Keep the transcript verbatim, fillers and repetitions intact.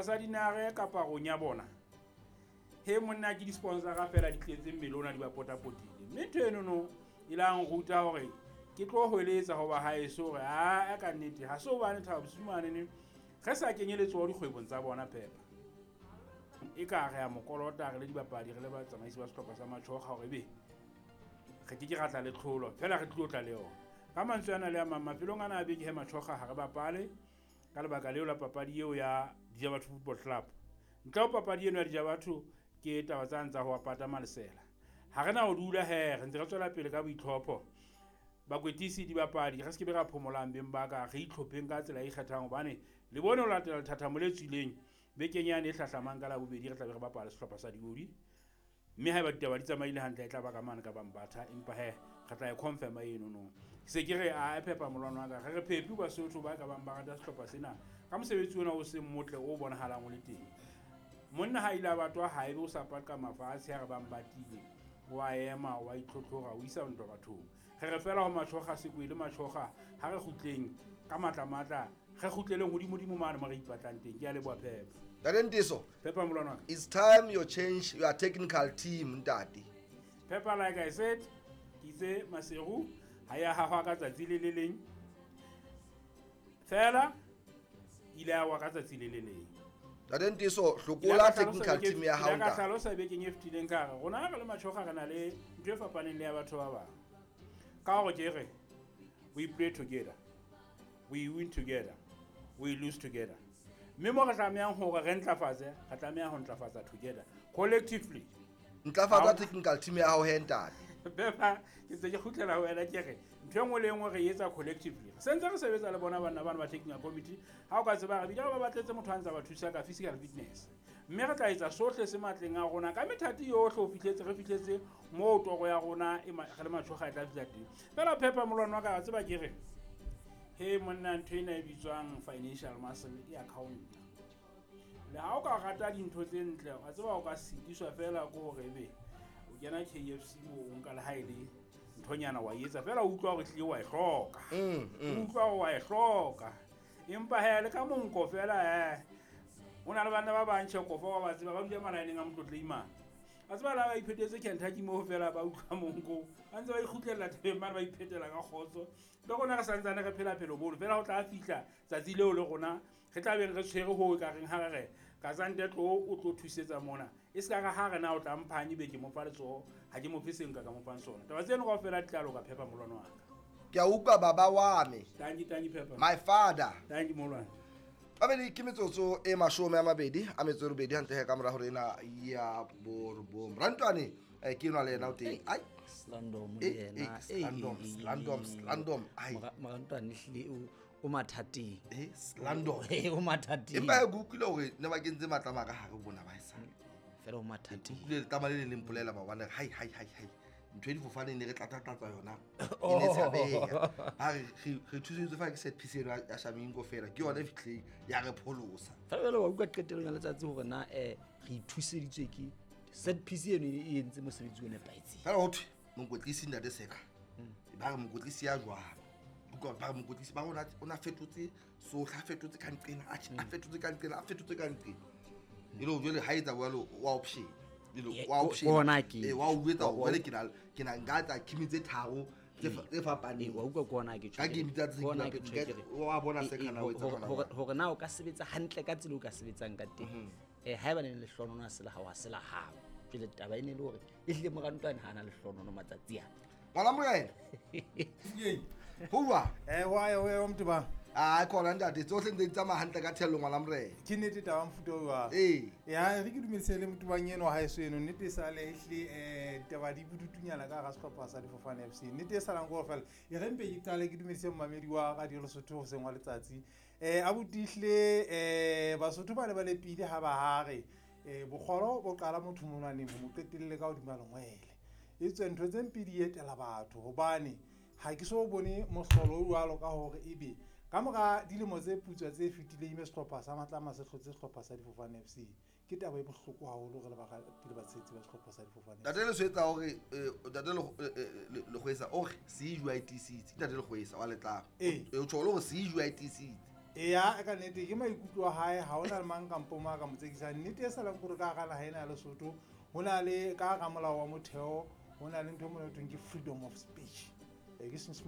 Sa dinare kapa rong ya bona he monna ke di-sponsora fela di tletse mmele ona di ba potapotile, mme ntho enono e la nruta hore ke tlo hweletsa hoba haeso hore aa ka nnete ha se hobane Thabo Bosiu manene re sa kenye letsoho dikgwebong tsa bona Phepa. E ka re a mo kolota re le dibapadi re le batsamaisi ba sehlopha sa Matjhoga hore ebe re ke ke ra tla le tlholo fela re tlilo tla le yona. Ka mantswe ana le a mang mafelong ana a beke he Matjhoga ha re bapale ka lebaka leo la papadi eo ya Dijabatho Football Club. Ntle ho papadi eno ya Dijabatho ke taba tsane tsa ho apata malesela. Ha re na ho dula he re ntse re tswela pele ka boitlhopho. Bakwetlisi dibapadi re se ke be ra phomolang beng ba ka re itlhopheng ka tsela e ikgethang hobane le bone ho latela lethathamo le tswileng bekeng yane e hlahlamang ka Labobedi re tla be re bapala sehlopha sa Diodi. Mme haeba ditaba di tsamaile hantle e tla ba ka mane ka Bambatha, empa he re tla e confirm eno no. Ke se ke re a Phepa molwana wa ka re re Phepi Basotho ba ka bang ba rata sehlopha sena ka mosebetsi ona o seng motle o bonahalang o le teng. Monna ha ile a batwa ha ebe o sa paka mafatshe ha re bang batile wa ema wa itlhotlhora o isa ntwa bathong. Re re fela ho Matjhoga sekwele Matjhoga ha re kgutleng ka matla matla re kgutleleng hodimo-dimo mane mo re ipatlang teng. Ke a leboha Phepa. Ntate Ntiso, Phepa molwana wa ka. It's time you change your technical team, ntate. Phepa, like I said, ke itse Maseru ha ya hahwa ka tsatsi le le leng. Fela ile ya wa ka tsatsi le le leng. Ntate Ntiso, hlokola technical team ya hao ntate. Ka hlalosa bekeng e fetileng ka re rona re le Matjhoga re na le ntho e fapaneng le ya batho ba bang. Ka hore ke re we play together, we win together, we lose together. Mme mo re tlamehang hore re ntlafatse, re tlameha ho ntlafatsa together collectively. Ntlafatsa technical team ya hao he ntate. Phepa, ke ntse ke kgutlela ho wena ke re ntho e nngwe le e nngwe re e etsa collectively. Re sentse re sebetsa le bona banna bana ba technical committee. Ha o ka tseba re bile ba batletse motho a ntsa ba thusa ka physical fitness. Mme re tla etsa sohle se matleng a rona ka methati yohle ho fihletse re fihletse moo toro ya rona e re le Matjhoga e tla fihla teng. Fela Phepa molwana wa ka wa tseba ke re he monna ntho ena e bitswang financial muscle e account. Le ha o ka rata dintho tse ntle wa tseba o ka sitiswa fela ke hore ebe o kena K F C moo o nka le ha e le nthonyana wa etsa fela o utlwa hore hlile wa e hloka. Mm, mm. O utlwa hore wa e hloka. Empa he le ka monko fela he o na le banna ba bang tjhe kofa wa ba tseba ba dula malaeneng a Motlotlei mane. A tseba la ba iphetetse Kentucky moo fela ba utlwa monko. Ba ntse ba ikgutlela thabeng mane ba iphetela ka kgotso. Le rona re santsane re phela phelo bono fela ho tla fihla tsatsi leo le rona re tla beng re tshwere ho e ka reng ha re re Kazante tlo o tlo thusetsa mona. E se ka re ha re na o tla mphanye be ke mo fa letsoho ha ke mo fe seng ka ka mo fang sona. Taba tseno kaofela di tla loka Phepa molwana wa ka. Ke a utlwa baba wa me. Tanki, tanki Phepa. My father. Tanki molwana. Babedi ke metsotso e mashome a mabedi a metso e robedi hantle he ka mora hore ena ya borobong. Rantwane eh, ke enwa le yena o teng. Ai. Slandom le Eh, yena. eh, Slandom, Eh, Slandom, Slandom. Ai. Mora-, Morantwane ehlile o, o mathateng. Eh, Slandom. Eh, o mathateng. Empa ke utlwile hore ne ba kentse matlama ka hare bona ba e sa. Fela o mathateng. Ke utlwile letlama le le leng mpolela maobane, hai, hai, hai, hai. Ntho e difofane ne re tlatlatlatsa yona. E ne tshabeha. Ha re, re, re thuseditswe fa ke set piece eno ya Shamingo fela. Ke yona e fihlileng ya re pholosa. Fela jwale wa utlwa qetellong ya letsatsi hore na, eh, re ithuseditswe ke set piece eno e entse mosebetsi o nepahetseng. Fela ho thwe mokwetlisi ntate Seka. Mm. Ba re mokwetlisi ya jwang? Utlwa ba re mokwetlisi ba rona o na fetotse sohle, a fetotse ka nqena, a tjhe, a Mm. fetotse ka nqena, a fetotse ka nqena. E le hore jwale ha etsa jwalo, wa option. E le Ye, wa ko- option. ko hona ke Eh, wa o jwetsa Wa- hore wa- jwale ke na, ke na nka tsa kimi tse tharo tse fa-, tse fapaneng. Eh, wa utlwa ke hona ke Ka tjho game tsa tse ke hona ke ke nka- tjho ke re, wa bona eh, se eh, kana o etsa hore- hona hore- jwale. hore na o ka sebetsa hantle ka tsela o ka sebetsang ka teng. Mhm. Eh, haeba ne le lehlohono ha se la hao, ha se la hao. Jwale taba e ne le hore ehlile Morantwane ha a na lehlohono matsatsi ana. Ngwana morena. Ho jwang? Eh, wa ya, wa ya, Motebang. Ah, khona ntate, tsohle ntse di tsamaya hantle ka thello ngwana morena. Ke nnete taba mofuta o jwang? Ee. Ya, re ke dumedise le Motebang eno ha eso eno, nnete e sale ehlile, eh, taba di budutunyana ka hara sehlopha sa Difofane F C. Nnete e salang ke hore fela, e re mpe ke qale ke dumedise momamedi wa Radio Lesotho hoseng wa letsatsi. Eh, abuti ehlile, eh, Basotho ba ne ba lepile ha ba ha re, eh, bokgolo bo qala motho monwaneng, bo mo qetelle ka hodima lengwele. E tswe ntho tse mpe di etela batho hobane ha ke so bone mohlolo o jwalo ka hore ebe ka mora dilemo tse putswa tse fetileng ebe sehlopha sa Matlama se hlotse sehlopha sa Difofane F C. Ke taba e bohloko haholo re le barati le batshehetsi ba sehlopha sa Difofane F C. Ntate Leswetsa hore, eh, ntate Le-, eh, eh, Le-, Lekgwesa o re se e jwa e tiisitse. Ntate Lekgwesa wa Letlama. Ee. O tjho le hore se e jwa e tiisitse. Eya, ka nnete ke maikutlo a hae, ha hona le mang kampo mang a ka mo tsekisang. Nnete e salang kore ka hara naha ena ya Lesotho ho na le ka hara molao wa motheo ho na le ntho e mona ho thweng ke freedom of speech. Eh, ke